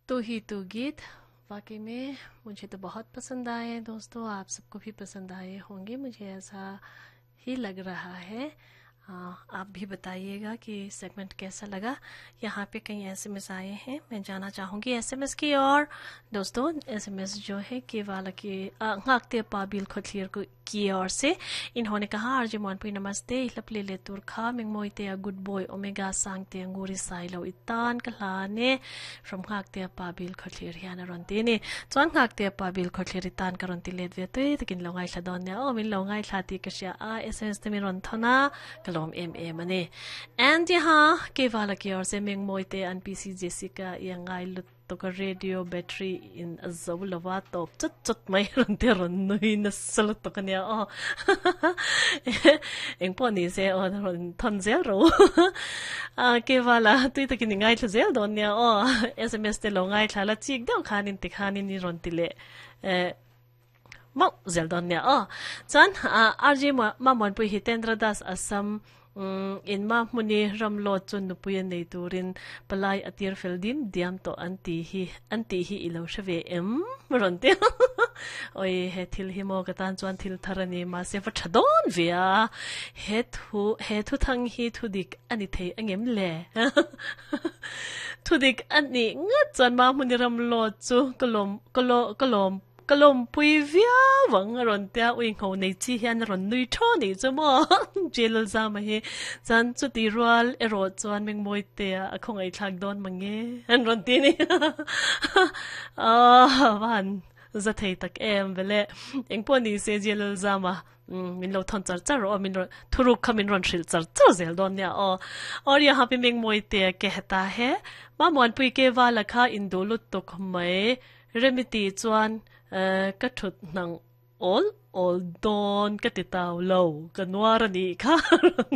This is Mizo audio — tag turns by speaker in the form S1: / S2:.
S1: तू ही तू गीत वाकई में मुझे तो बहुत पसंद आए दोस्तों, आप सबको भी पसंद आए होंगे, मुझे ऐसा ही लग रहा है। आप भी बताइएगा कि सेगमेंट कैसा लगा। यहाँ पे कई एसएमएस आए हैं, मैं जाना चाहूँगी एसएमएस की और दोस्तों एसएमएस जो है केवाला के ngakte पाबिल खोथलियर को की ओर से इन्होंने कहा आरजे मोहनपुरी नमस्ते इलप ले ले तुरखा मिंगमोइते a good boy omega sangte anguri sailo itan kalane from ngakte pabil khotlir hian aron ti ni chuan ngakte pabil khotlir itan karon ti let ve tui takin lo ngai thla don ne o min lo ngai thla ti ka sia a sms te min ron thona kalom em em ani and यहाँ केवाला की ओर से मिंगमोइते NPC Jessica yangai lut to ka radio battery in zo lova top chut chut mai ron te ron nui na sal to ka nia o eng po ni se o ron thon zel ro a ke wala tui takin ngai thla zel don nia o sms te lo ngai thla la chik deuh khanin ti khanin ni ron ti le mau zel don nia o chuan rj ma mon pui Hitendra Das Assam in ma muni ramlo chun nupui nei turin palai atir fel dim diam to anti hi anti hi ilo hreve em ron te oi he thil hi mo ka tan chuan thil tharani ma se fa thadon via he thu he thu thang hi thu dik ani thei angem le thu dik ani nga chuan ma muni ramlo chu kolom kolo kolom kalom pui via wang ron tia ui ngho nei chi hian ron nui tho ni chu mo jail za ma hi chan chu ti rual ero chuan meng moi te a khong ai thak don mange an ron ti ni a van za thei tak em vele eng po ni se jail za ma min lo thon char char ro min thuruk kha min ron thril char char zel don nia o और यहाँ पे मेंग मोइते कहता है ma mon pui ke wa lakha indolut tok mai remiti chuan ka thut nang ol ol don ka ti tau lo ka nuar ani kha.